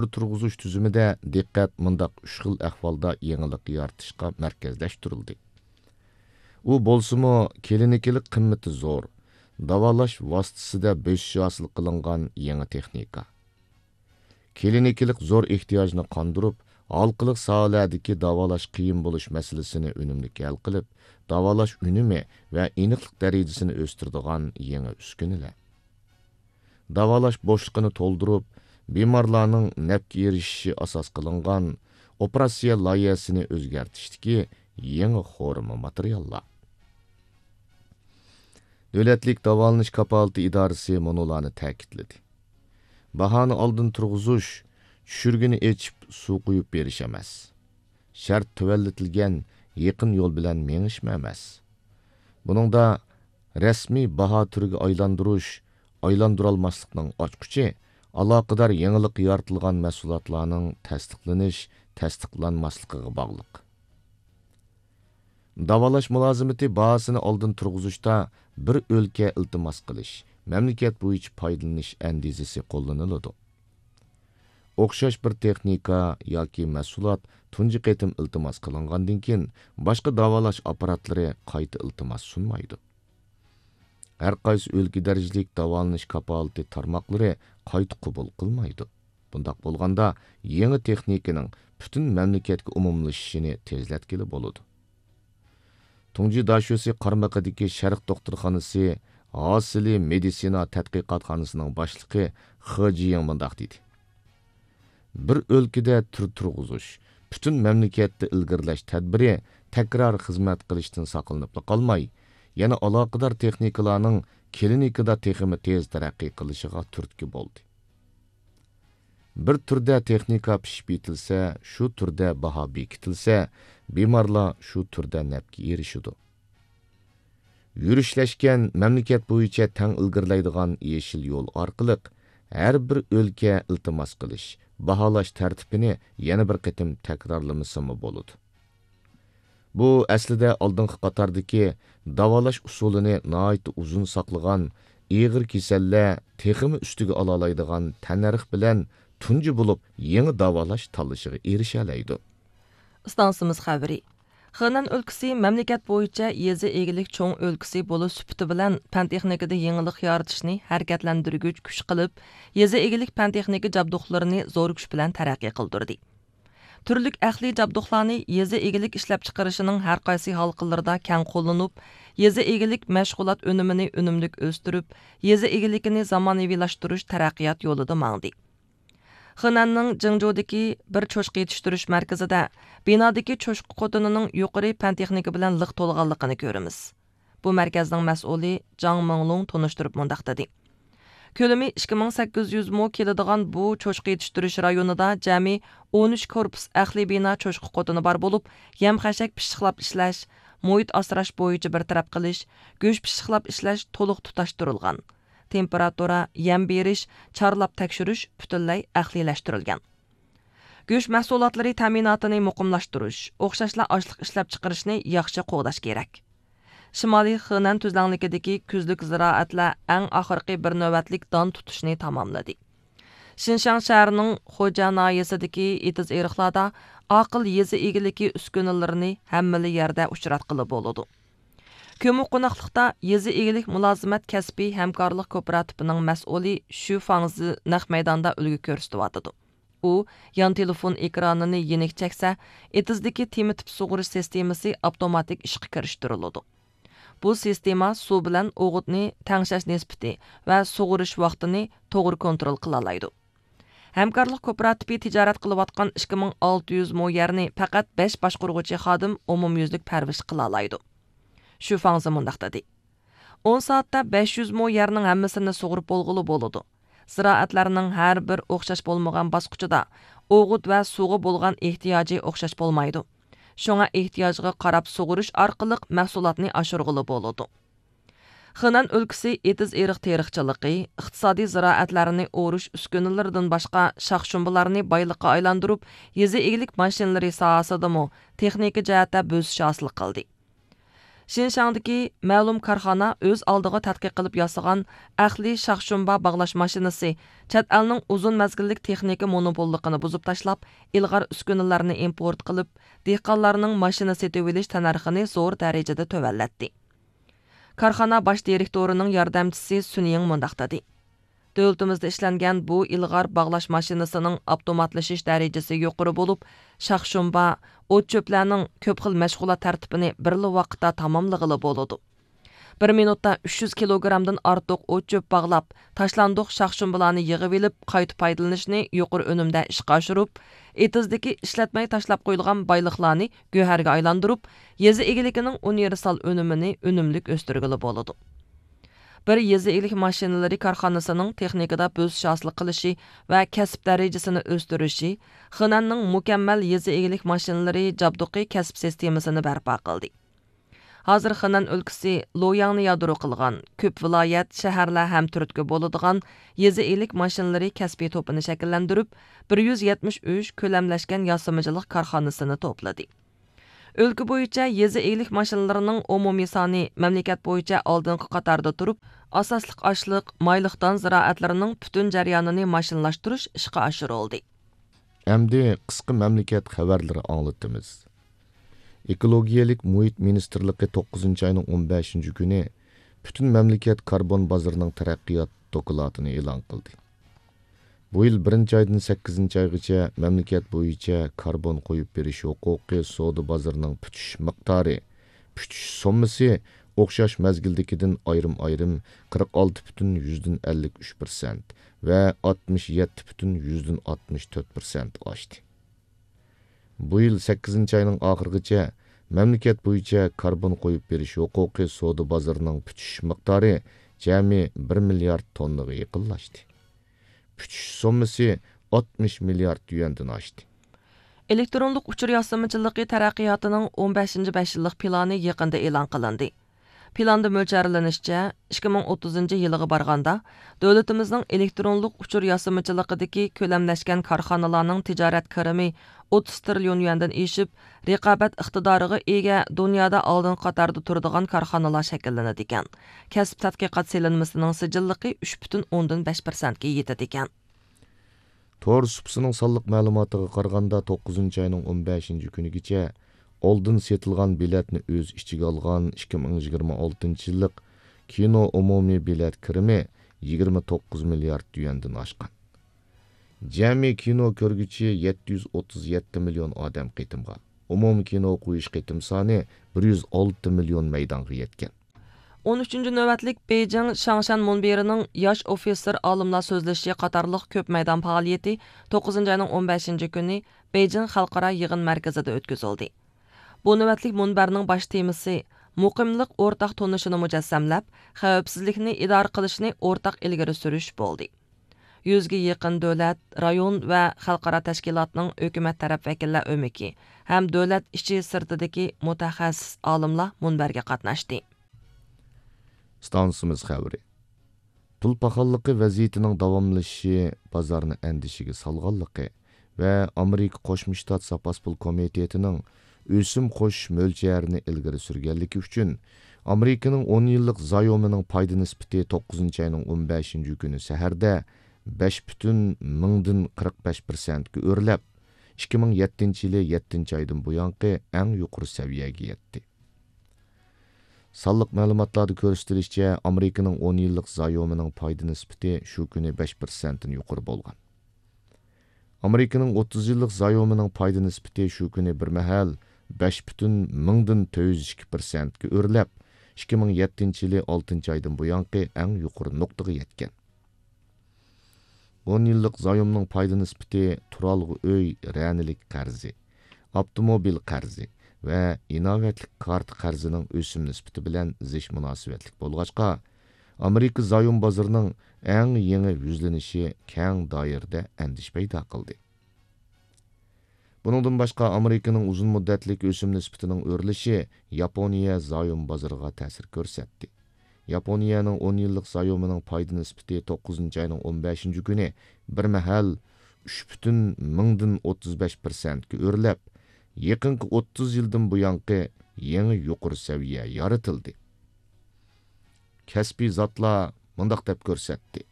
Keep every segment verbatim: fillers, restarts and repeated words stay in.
تۈر تۇرغۇزۇش تۈزۈمىدە دىققەت مۇنداق ئۈچ خىل ئەھۋالدا يېڭىلىق يارىتىشقا مەركەزلەشتۈرۈلدى. ئۇ بولسىمۇ، كلىنىكىلىق قىممىتى زور، داۋالاش ۋاسىتىسىدە بۆسۈش ھاسىل قىلىنغان يېڭى تېخنىكا. كلىنىكىلىق زور ئېھتىياجنى قاندۇرۇپ، ھالقىلىق ساھەلەردىكى داۋالاش قىيىن بولۇش مەسىلىسىنى ئۈنۈملۈك ھەل قىلىپ، داۋالاش ئۈنۈمى ۋە ئېنىقلىق دەرىجىسىنى ئۆستۈرىدىغان يېڭى ئۈسكۈنىلەر. داۋالاش بوشلۇقىنى تولدۇرۇپ، بىمارلارنىڭ نەپكە ئېرىشىشى ئاساس قىلىنغان ئوپېراتسىيە لايىھەسىنى ئۆزگەرتىشتىكى يېڭى خورما ماتېرىياللار. دۆلەتلىك داۋالىنىش كاپالىتى ئىدارىسى مۇنۇلارنى تەكىتلىدى: باھانى ئالدىن تۇرغۇزۇش، چۈشۈرگىنى ئېچىپ سۇ قۇيۇپ بېرىش ئەمەس. شەرت تۆۋەنلىتىلگەن يېقىن يول بىلەن مېڭىشمۇ ئەمەس. بۇنىڭدا رەسمىي باھا تۈرىگە ئايلاندۇرۇش، ئايلاندۇرالماسلىقنىڭ ئاچقۇچى ئالاقىدار يېڭىلىق يارىتىلغان مەھسۇلاتلارنىڭ تەستىقلىنىش، تەستىقلانماسلىقىغا باغلىق. داۋالاش مۇلازىمىتى باھاسىنى ئالدىن تۇرغۇزۇشتا بىر ئۆلكە ئىلتىماس قىلىش، مەملىكەت بويىچە پايدىلىنىش ئەندىزىسى قوللىنىلىدۇ. ئوخشاش بىر تېخنىكا ياكى مەھسۇلات تۇنجى قېتىم ئىلتىماس قىلىنغاندىن كېيىن، باشقا داۋالاش ئاپپاراتلىرى قايتا ئىلتىماس سۇنمايدۇ. ھەر قايسى ئۆلكە دەرىجىلىك داۋالىنىش كاپالىتى تارماقلىرى قايتا قوبۇل قىلمايدۇ. بۇنداق بولغاندا، يېڭى تېخنىكىنىڭ پۈتۈن مەملىكەتكە ئومۇملىشىشىنى تېزلەتكىلى بولىدۇ. تۇڭجى داشۆسى قارمىقىدىكى شەرق دوختۇرخانىسى ھاسىلى مېدىتسىنا تەتقىقاتخانىسىنىڭ باشلىقى خې جيىڭ مۇنداق دېدى: بىر ئۆلكىدە تۈر تۇرغۇزۇش، پۈتۈن مەملىكەتتە ئىلگىرىلەش تەدبىرى تەكرار خىزمەت قىلىشتىن ساقلىنىپلا قالماي، يەنە ئالاقىدار تېخنىكىلارنىڭ كلىنىكىدا تېخىمۇ تېز تەرەققىي قىلىشىغا تۈرتكە بولدى. بىر تۈردە تېخنىكا پىشىپ يېتىلسە، شۇ تۈردە باھا بېكىتىلسە، بىمارلار شۇ تۈردە نەپكە ئېرىشىدۇ. يۈرۈشلەشكەن، مەملىكەت بويىچە تەڭ ئىلگىرىلەيدىغان يېشىل يول ئارقىلىق ھەر بىر ئۆلكە ئىلتىماس قىلىش، باھالاش تەرتىپىنى يەنە بىر قېتىم تەكرارلىمىسىمۇ بولىدۇ. بۇ ئەسلىدە ئالدىنقى قاتاردىكى داۋالاش ئۇسۇلىنى ناھايىتى ئۇزۇن ساقلىغان ئېغىر كېسەللەر تېخىمۇ ئۈستىگە ئالالايدىغان تەننەرخ بىلەن تۇنجى بولۇپ يېڭى داۋالاش تاللىشىغا ئېرىشەلەيدۇ. ئىستانسىمىز خەۋىرى. خېنەن ئۆلكىسى مەملىكەت بويىچە يېزا ئىگىلىك چوڭ ئۆلكىسى بولۇش سۈپىتى بىلەن پەن تېخنىكىدا يېڭىلىق يارىتىشنى ھەرىكەتلەندۈرگۈچ كۈچ قىلىپ، يېزا ئىگىلىك پەن تېخنىكا جابدۇقلىرىنى زور كۈچ بىلەن تەرەققىي قىلدۇردى. تۈرلۈك ئەقلىي جابدۇقلارنى يېزا ئىگىلىك ئىشلەپچىقىرىشىنىڭ ھەرقايسى ھالقىلىرىدا كەڭ قوللىنىپ، يېزا ئىگىلىك مەشغۇلات ئۈنۈمىنى ئۈنۈملۈك ئۆستۈرۈپ، يېزا ئىگىلىكىنى زامانىۋىلاشتۇرۇش تەرەققىيات يولىدا ماڭدى. خېنەننىڭ جىڭجۇدىكى بىر چوشقا يېتىشتۈرۈش مەركىزىدە بىنادىكى چوشقا قوتىنىنىڭ يۇقىرى پەن تېخنىكا بىلەن لىق تولغانلىقىنى كۆرىمىز. بۇ مەركەزنىڭ مەسئۇلى جاڭ مىڭلۇڭ تونۇشتۇرۇپ مۇنداق دېدى: كۆلىمى ئىككى مىڭ سەككىز يۈز مو كېلىدىغان بۇ چوشقا يېتىشتۈرۈش رايونىدا جەمئىي ئون ئۈچ كورپۇس ئەقلىي بىنا چوشقا قوتىنى بار بولۇپ، يەم خەشەك پىششىقلاپ ئىشلەش، مۇھىت ئاسراش بويىچە بىر تەرەپ قىلىش، گۆش پىششىقلاپ ئىشلەش تولۇق تۇتاشتۇرۇلغان. تېمپېراتۇرا، يەم بېرىش، چارلاپ تەكشۈرۈش پۈتۈنلەي ئەقلىيلەشتۈرۈلگەن. گۆش مەھسۇلاتلىرى تەمىناتىنى مۇقىملاشتۇرۇش، ئوخشاشلا ئاشلىق ئىشلەپچىقىرىشنى ياخشى قوغداش كېرەك. شىمالىي خېنەن تۈزلەڭلىكىدىكى كۈزلۈك زىرائەتلەر ئەڭ ئاخىرقى بىر نۆۋەتلىك دان تۇتۇشنى تاماملىدى. شىنشاڭ شەھىرىنىڭ خوجا ناھىيەسىدىكى ئېتىز-ئېرىقلاردا ئاقىل يېزا ئىگىلىكى ئۈسكۈنىلىرىنى ھەممىلا يەردە ئۇچراتقىلى بولىدۇ. كۆمۈ قوناقلىقتا يېزا ئىگىلىك مۇلازىمەت كەسپىي ھەمكارلىق كوپىراتىپىنىڭ مەسئۇلى شۈ فاڭزى نەق مەيداندا ئۈلگە كۆرسىتىۋاتىدۇ. ئۇ يان تېلېفون ئېكرانىنى يېنىك چەكسە، ئېتىزدىكى تېمە تىپ سۇغىرىش سىستېمىسى ئاپتوماتىك ئىشقا كىرىشتۈرۈلىدۇ. بۇ سىستېما سۇ بىلەن ئوغۇتنى تەڭشەش نىسبىتى ۋە سۇغىرىش ۋاقتىنى توغرا كونترول قىلالايدۇ. ھەمكارلىق كوپىراتىپى تىجارەت قىلىۋاتقان ئىككى مىڭ ئالتە يۈز مو يەرنى پەقەت بەش باشقۇرغۇچى خادىم ئومۇميۈزلۈك پەرۋىش قىلالايدۇ. شۈ فاڭزى مۇنداق دېدى: ئون سائەتتە بەش يۈز مو يەرنىڭ ھەممىسىنى سۇغۇرۇپ بولغىلى بولىدۇ. زىرائەتلەرنىڭ ھەر بىر ئوخشاش بولمىغان باسقۇچىدا ئوغۇت ۋە سۇغا بولغان ئېھتىياجى ئوخشاش بولمايدۇ. شۇڭا ئېھتىياجغا قاراپ سۇغۇرۇش ئارقىلىق مەھسۇلاتنى ئاشۇرغىلى بولىدۇ. خېنەن ئۆلكىسى ئېتىز-ئېرىق تېرىقچىلىقى، ئىقتىسادىي زىرائەتلەرنى ئورۇش ئۈسكۈنىلىرىدىن باشقا شاخ-شۇمبىلارنى بايلىققا ئايلاندۇرۇپ، يېزا ئىگىلىك ماشىنىلىرى ساھەسىدىمۇ تېخنىكا جەھەتتە بۆسۈش ھاسىل قىلدى. شىنشاڭدىكى مەلۇم كارخانا ئۆز ئالدىغا تەتقىق قىلىپ ياسىغان ئەقلىي شاخشۇمبا باغلاش ماشىنىسى چەت ئەلنىڭ ئۇزۇن مەزگىللىك تېخنىكا مونوپوللۇقىنى بۇزۇپ تاشلاپ، ئىلغار ئۈسكۈنىلەرنى ئىمپورت قىلىپ، دېھقانلارنىڭ ماشىنا سېتىۋېلىش تەننەرخىنى زور دەرىجىدە تۆۋەنلەتتى. كارخانا باش دىرېكتورىنىڭ ياردەمچىسى سۈن يىڭ مۇنداق دېدى: دۆلىتىمىزدە ئىشلەنگەن بۇ ئىلغار باغلاش ماشىنىسىنىڭ ئاپتوماتلىشىش دەرىجىسى يۇقىرى بولۇپ، شاخشۇمبا، ئوت-چۆپلەرنىڭ كۆپ خىل مەشغۇلات تەرتىپىنى بىرلا ۋاقىتتا تاماملىغىلى بولىدۇ. بىر مىنۇتتا ئۈچ يۈز كىلوگرامدىن ئارتۇق ئوت-چۆپ باغلاپ، تاشلاندۇق شاخشۇمبىلارنى يىغىۋېلىپ، قايتا پايدىلىنىشنى يۇقىرى ئۈنۈمدە ئىشقا ئاشۇرۇپ، ئېتىزدىكى ئىشلەتمەي تاشلاپ قويۇلغان بايلىقلارنى گۆھەرگە ئايلاندۇرۇپ، يېزا ئىگىلىكىنىڭ ئۇنىۋېرسال ئۈنۈمىنى ئۈنۈملۈك ئۆستۈرگىلى بولىدۇ. بىر يېزا ئىگىلىك ماشىنىلىرى كارخانىسىنىڭ تېخنىكىدا بۆسۈش ھاسىل قىلىشى ۋە كەسىپ دەرىجىسىنى ئۆستۈرۈشى خېنەننىڭ مۇكەممەل يېزا ئىگىلىك ماشىنىلىرى جابدۇقى كەسىپ سىستېمىسىنى بەرپا قىلدى. ھازىر خېنەن ئۆلكىسى لوياڭنى يادرو قىلغان، كۆپ ۋىلايەت، شەھەرلەر ھەم تۈرتكە بولىدىغان يېزا ئىگىلىك ماشىنىلىرى كەسپىي توپىنى شەكىللەندۈرۈپ، بىر يۈز يەتمىش ئۈچ كۆلەملەشكەن ياسىمىچىلىق كارخانىسىنى توپلىدى. ئۆلكە بويىچە يېزا ئىگىلىك ماشىنىلىرىنىڭ ئومۇمىي سانى مەملىكەت بويىچە ئالدىنقى قاتاردا تۇرۇپ، ئاساسلىق ئاشلىق، مايلىق دان زىرائەتلىرىنىڭ پۈتۈن جەريانىنى ماشىنىلاشتۇرۇش ئىشقا ئاشۇرۇلدى. ئەمدى قىسقا مەملىكەت خەۋەرلىرى ئاڭلىتىمىز. ئېكولوگىيەلىك مۇھىت مىنىستىرلىقى توققۇزىنچى ئاينىڭ ئون بەشىنچى كۈنى پۈتۈن مەملىكەت كاربون بازىرىنىڭ تەرەققىيات دوكلاتىنى ئېلان قىلدى. بۇ يىل بىرىنچى ئايدىن سەككىزىنچى ئايغىچە مەملىكەت بويىچە كاربون قويۇپ بېرىش ھوقۇقى سودا بازىرىنىڭ پۈتۈش مىقدارى، پۈتۈش سوممىسى ئوخشاش مەزگىلدىكىدىن ئايرىم-ئايرىم قىرىق ئالتە پۈتۈن يۈزدىن ئەللىك ئۈچ پىرسەنت ۋە ئاتمىش يەتتە پۈتۈن يۈزدىن ئاتمىش تۆت پىرسەنت ئاشتى. بۇ يىل سەككىزىنچى ئاينىڭ ئاخىرىغىچە مەملىكەت بويىچە كاربون قويۇپ بېرىش ھوقۇقى سودا بازىرىنىڭ پۈتۈش مىقدارى جەمئىي بىر مىليارد توننىغا يېقىنلاشتى. پۈتۈش سوممىسى ئاتمىش مىليارد يۈەندىن ئاشتى. ئېلېكترونلۇق ئۇچۇر ياسىمىچىلىقى تەرەققىياتىنىڭ ئون بەشىنچى بەش يىللىق پىلانى يېقىندا ئېلان قىلىندى. پىلاندا مۆلچەرلىنىشىچە، ئىككى مىڭ ئوتتۇزىنچى يىلىغا بارغاندا، دۆلىتىمىزنىڭ ئېلېكترونلۇق ئۇچۇر ياسىمىچىلىقىدىكى كۆلەملەشكەن كارخانىلارنىڭ تىجارەت كىرىمى ئوتتۇز تىرىليون يۈەندىن ئېشىپ، رىقابەت ئىقتىدارىغا ئىگە، دۇنيادا ئالدىنقى قاتاردا تۇرىدىغان كارخانىلار شەكىللىنىدىكەن. كەسىپ تەتقىقات سېلىنمىسىنىڭ سىجىللىقى ئۈچ پۈتۈن ئوندىن بەش پىرسەنتكە يېتىدىكەن. تور سۇپىسىنىڭ سانلىق مەلۇماتىغا قارىغاندا، توققۇزىنچى ئاينىڭ ئون بەشىنچى كۈنىگىچە ئالدىن سېتىلغان بېلەتنى ئۆز ئىچىگە ئالغان ئىككى مىڭ يىگىرمە ئالتىنچى يىللىق كىنو ئومۇمىي بېلەت كىرىمى يىگىرمە توققۇز مىليارد يۈەندىن ئاشقان. جەمئىي كىنو كۆرگۈچى يەتتە يۈز ئوتتۇز يەتتە مىليون ئادەم قېتىمغا، ئومۇمىي كىنو قويۇش قېتىم سانى بىر يۈز ئالتە مىليون مەيدانغا يەتكەن. ئون ئۈچىنچى نۆۋەتلىك بېيجىڭ شاڭشەن مۇنبىرىنىڭ ياش ئوفىتسېر ئالىملار سۆزلىشىشى قاتارلىق كۆپ مەيدان پائالىيىتى توققۇزىنچى ئاينىڭ ئون بەشىنچى كۈنى بېيجىڭ خەلقئارا يىغىن مەركىزىدە ئۆتكۈزۈلدى. بۇ نۆۋەتلىك مۇنبەرنىڭ باش تېمىسى مۇقىملىق ئورتاق تونۇشىنى مۇجەسسەملەپ، خەۋپسىزلىكنى ئىدارە قىلىشنى ئورتاق ئىلگىرى سۈرۈش بولدى. يۈزگە يېقىن دۆلەت، رايون ۋە خەلقئارا تەشكىلاتنىڭ ھۆكۈمەت تەرەپ ۋەكىللەر ئۆمىكى ھەم دۆلەت ئىچى سىرتىدىكى مۇتەخەسسىس ئالىملار مۇنبەرگە قاتناشتى. ئىستانسىمىز خەۋىرى. پۇل پاخاللىقى ۋەزىيىتىنىڭ داۋاملىشىشى بازارنى ئەندىشىگە سالغانلىقى ۋە ئامېرىكا قوشما شتات زاپاس پۇل كومىتېتىنىڭ ئۆسۈم قوشۇش مۆلچەرىنى ئىلگىرى سۈرگەنلىكى ئۈچۈن، ئامېرىكىنىڭ ئون يىللىق زايومىنىڭ پايدا نىسبىتى توققۇزىنچى ئاينىڭ ئون بەشىنچى كۈنى سەھەردە بەش پۈتۈن مىڭدىن قىرىق بەش پىرسەنتكە ئۆرلەپ، ئىككى مىڭ يەتتىنچى يىلى يەتتىنچى ئايدىن بۇيانقى ئەڭ يۇقىرى سەۋىيەگە يەتتى. سانلىق مەلۇماتلاردا كۆرسىتىلىشىچە، ئامېرىكىنىڭ ئون يىللىق زايومىنىڭ پايدا نىسبىتى شۇ كۈنى بەش پىرسەنتتىن يۇقىرى بولغان. ئامېرىكىنىڭ ئوتتۇز يىللىق زايومىنىڭ پايدا نىسبىتى شۇ كۈنى بىر مەھەل بەش پۈتۈن مىڭدىن تۆت يۈز ئىككى پىرسەنتكە ئۆرلەپ، ئىككى مىڭ يەتتىنچى يىلى ئالتىنچى ئايدىن بۇيانقى ئەڭ يۇقىرى نۇقتىغا يەتكەن. ئون يىللىق زايومنىڭ پايدا نىسبىتى تۇرالغۇ ئۆي رەنىلىك قەرزى، ئاپتوموبىل قەرزى ۋە ئىناۋەتلىك كارتا قەرزىنىڭ ئۆسۈم نىسبىتى بىلەن زىچ مۇناسىۋەتلىك بولغاچقا، ئامېرىكا زايوم بازىرىنىڭ ئەڭ يېڭى يۈزلىنىشى كەڭ دائىرىدە ئەندىشە پەيدا قىلدى. بۇنىڭدىن باشقا، ئامېرىكىنىڭ ئۇزۇن مۇددەتلىك ئۆسۈم نىسبىتىنىڭ ئۆرلىشى ياپونىيە زايوم بازىرىغا تەسىر كۆرسەتتى. ياپونىيەنىڭ ئون يىللىق زايومىنىڭ پايدا نىسبىتى توققۇزىنچى ئاينىڭ ئون بەشىنچى كۈنى بىر مەھەل ئۈچ پۈتۈن مىڭدىن ئوتتۇز بەش پىرسەنتكە ئۆرلەپ، يېقىنقى ئوتتۇز يىلدىن بۇيانقى يېڭى يۇقىرى سەۋىيە يارىتىلدى. كەسپىي زاتلار مۇنداق دەپ كۆرسەتتى: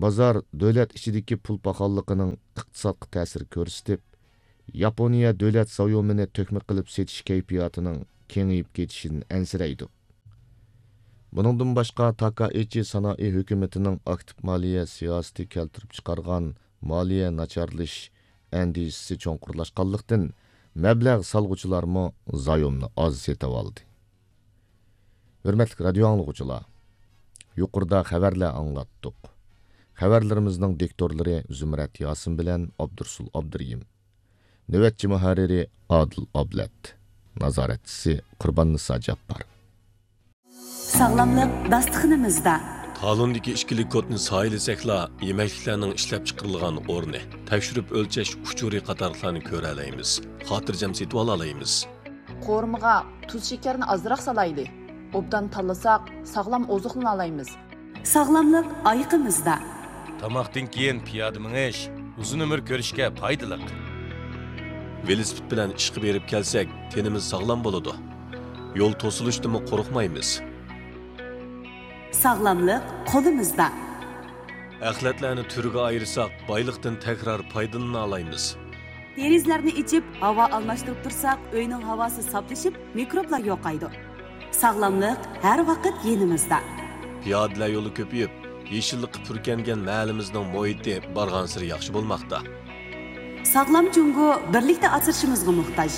بازار دۆلەت ئىچىدىكى پۇل پاخاللىقىنىڭ ئىقتىسادقا تەسىر كۆرسىتىپ، ياپونىيە دۆلەت زايومىنى تۆكمە قىلىپ سېتىش كەيپىياتىنىڭ كېڭىيىپ كېتىشىدىن ئەنسىرەيدۇ. بۇنىڭدىن باشقا، تاكائىچى سانائى ھۆكۈمىتىنىڭ ئاكتىپ مالىيە سىياسىتى كەلتۈرۈپ چىقارغان مالىيە ناچارلىشىش ئەندىشىسى چوڭقۇرلاشقانلىقتىن، مەبلەغ سالغۇچىلارمۇ زايومنى ئاز سېتىۋالدى. ھۆرمەتلىك رادىيو ئاڭلىغۇچىلار، يۇقىرىدا خەۋەرلەر ئاڭلاتتۇق. خەۋەرلىرىمىزنىڭ دىكتورلىرى زۇمرەت ياسىن بىلەن ئابدۇرسۇل ئابدۇرېھىم. نۆۋەتچى مۇھەررىرى ئادىل ئابلەت. نازارەتچىسى قۇرباننىسا جاپپار. ساغلاملىق داستىخىنىمىزدا. تالوندىكى ئىككىلىك كودنى سايىلىسەكلا، يېمەكلىكلەرنىڭ ئىشلەپچىقىرىلغان ئورنى، تەكشۈرۈپ ئۆلچەش ئۇچۇرى قاتارلىقلارنى كۆرەلەيمىز، خاتىرجەم سېتىۋالالايمىز. قورۇمىغا تۇز شېكەرنى ئازراق سالايلى. ئوبدان تاللىساق، ساغلام ئوزۇقلىنالايمىز. ساغلاملىق ئايىقىمىزدا. تاماقتىن كېيىن پىيادە مېڭىش ئۇزۇن ئۆمۈر كۆرۈشكە پايدىلىق. ۋېلىسىپىت بىلەن ئىشقا بېرىپ كەلسەك، تېنىمىز ساغلام بولىدۇ. يول توسۇلۇشتىنمۇ قورقمايمىز. ساغلاملىق قولىمىزدا. ئەخلەتلەرنى تۈرگە ئايرىساق، بايلىقتىن تەكرار پايدىلىنالايمىز. دېرىزىلەرنى ئېچىپ، ھاۋا ئالماشتۇرۇپ تۇرساق، ئۆينىڭ ھاۋاسى ساپلىشىپ، مىكروبلار يوقايدۇ. ساغلاملىق ھەر ۋاقىت يېنىمىزدا. پىيادىلەر يولى كۆپىيىپ، يېشىللىققا پۈركەنگەن مەھەللىمىزنىڭ مۇھىتى بارغانسېرى ياخشى بولماقتا. ساغلام جۇڭگو بىرلىكتە ئاسرىشىمىزغا موھتاج.